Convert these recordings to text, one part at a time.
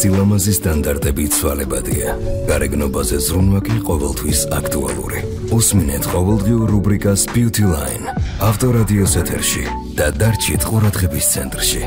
სილამაზის სტანდარტები ცვალებადია. გარეგნობაზე ზრუნვა კი ყოველთვის აქტუალური. უსმინეთ ყოველდღიურ რუბრიკას Beauty Line ავტორადიოს ეთერში და დარჩით ყურადღების ცენტრში.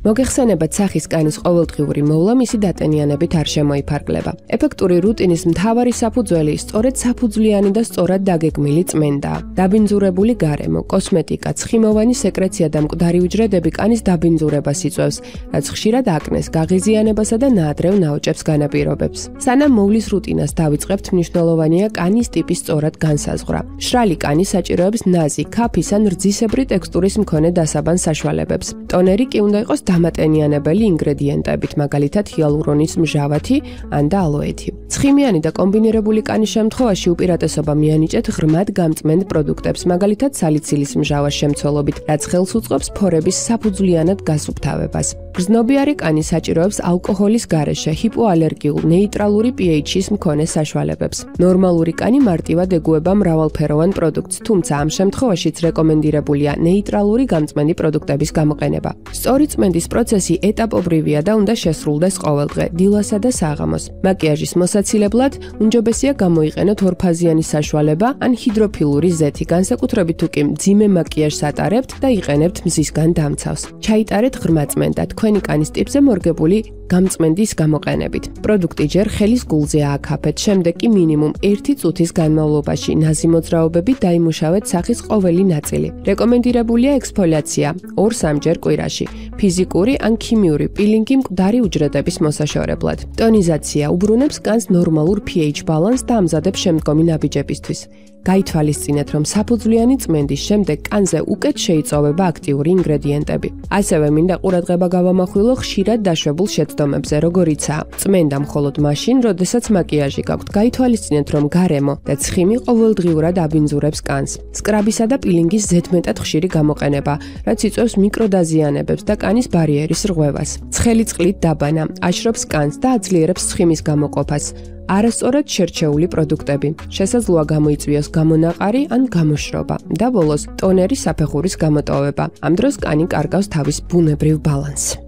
მოგეხსენებათ სახის კანის ყოველდღიური მოვლა მისი დატენიანებით არ შემოიფარგლება. ეფექტური რუტინის მთავარი საფუძველი სწორედ საფუძვლიანი და სწორად დაგეგმილი წმენდაა. დაბინძურებული გარემო, კოსმეტიკა, ცხიმოვანი სეკრეცია და მკვდარი უჯრედები კანის დაბინძურებას იწვევს, რაც ხშირად აკნეს, გაღიზიანებასა და ნაადრევ ნაოჭებს განაპირობებს. სანამ მოვლის რუტინას დავიწყებთ, მნიშვნელოვანია კანის ტიპის სწორად განსაზღვრა. მშრალი კანი საჭიროებს ნაზი, ქაფის ან რძისებრი ტექსტურის მქონე დასაბან საშუალებებს. ტონერი კი უნდა იყოს დამატენიანებელი ინგრედიენტებით, მაგალითად ჰიალურონის მჟავათი ან და ალოეთი. ცხიმიანი და კომბინირებული კანის შემთხვევაში უპირატესობა მიანიჭეთ ღრმად გამწმენდ პროდუქტებს, მაგალითად სალიცილის მჟავას შემცველობით, რაც ხელს უწყობს ფორების საფუძვლიანად გასუფთავებას. გრძნობიარე კანი საჭიროებს ალკოჰოლის გარეშე ჰიპოალერგიულ ნეიტრალური pH-ის მქონე საშუალებებს. ნორმალური კანი მარტივად ეგუება მრავალფეროვან პროდუქტს, თუმცა ამ შემთხვევაშიც რეკომენდირებულია ნეიტრალური გამწმენდი პროდუქტების გამოყენება. სწორი წმენდის პროცესი ეტაპობრივია და უნდა შესრულდეს ყოველდღე, დილასა და საღამოს. მაკიაჟის მოსაცილებლად უმჯობესია გამოიყენოთ ორფაზიანი საშუალება ან ჰიდროფილური ზეთი, განსაკუთრებით თუ კი მძიმე მაკიაჟს ატარებთ და იყენებთ მზისგან დამცავს. ჩაიტარეთ ღრმა წმენდა თქვენი კანის ტიპზე მორგებული გამწმენდის გამოყენებით. პროდუქტი ჯერ ხელის გულზე ააკაფეთ, შემდეგ კი მინიმუმ 1 წუთის განმავლობაში ნაზი მოძრაობებით დაიმუშავეთ სახის ყოველი ნაწილი. რეკომენდირებულია ექსფოლიაცია 2-3 ჯერ კვირაში. ფიზიკური ან ქიმიური პილინგი მკვდარი უჯრედების მოსაშორებლად. ტონიზაცია უბრუნებს კანს ნორმალურ pH ბალანსს და ამზადებს შემდგომი ნაბიჯებისთვის. გაითვალისწინეთ, რომ საფუძვლიანი წმენდის შემდეგ კანზე უკეთ შეიწოვება აქტიური ინგრედიენტები. ასევე მინდა ყურადღება გავამახვილო ხშირად დაშვებულ შეცდომებზე, როგორიცაა წმენდა მხოლოდ მაშინ, როდესაც მაკიაჟი გაქვთ. გაითვალისწინეთ, რომ გარემო და ცხიმი ყოველდღიურად აბინძურებს კანს. სკრაბისა და პილინგის ზედმეტად ხშირი გამოყენება, რაც იწვევს მიკროდაზიანებებს და კანის ბარიერის რღვევას. ცხელი წყლით დაბანა აშრობს კანს და აძლიერებს ცხიმის გამოყოფას. არასწორად შერჩეული პროდუქტები. შესაძლოა გამოიწვიოს გამონაყარი ან გამოშრობა და ბოლოს ტონერის საფეხურის გამოტოვება. ამ დროს კანი კარგავს თავის ბუნებრივ ბალანსს.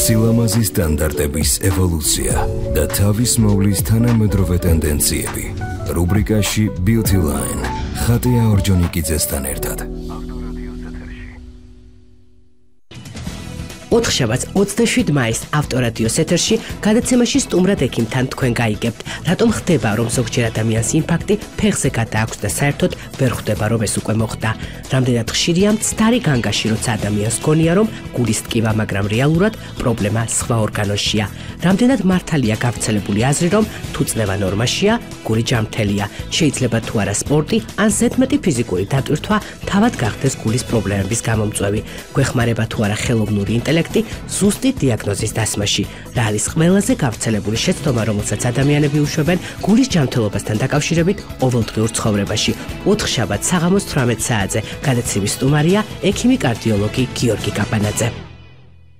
სილამაზის სტანდარტების ევოლუცია და თავის მოვლის თანამედროვე ტენდენციები. რუბრიკაში Beauty Line ხატია ორჯონიკიძესთან ერთად. ოთხშაბათს 27 მაისს ავტორადიოს ეთერში გადაცემაში სტუმრად ექიმთან თქვენ გაიგებთ, რატომ ხდება, რომ ზოგჯერ ადამიანს ინფარქტი ფეხზე გადააქვს და საერთოდ ვერ ხვდება, რომ ეს უკვე მოხდა. რამდენად ხშირია მცდარი განგაში, როცა ადამიანს გონია, რომ გულის ტკივა, მაგრამ რეალურად პრობლემა სხვა ორგანოშია. რამდენად მართალია გავრცელებული აზრი, რომ თუ წნევა ნორმაშია, გული ჯანმრთელია. შეიძლება თუ არა სპორტი ან ზედმეტი ფიზიკური დატვირთვა თავად გახდეს გულის პრობლემების გამომწვევი. გვეხმარება თუ არა ხელოვნური ინტელექტი ზუსტი დიაგნოზის დასმაში. რა არის ყველაზე გავრცელებული შეცდომა, რომელსაც ადამიანები უშვებენ გულის ჯანმრთელობასთან დაკავშირებით ყოველდღიურ ცხოვრებაში. 4 შაბათს საღამოს 18 საათზე გადაცემის სტუმარია ექიმი კარდიოლოგი გიორგი კაპანაძე.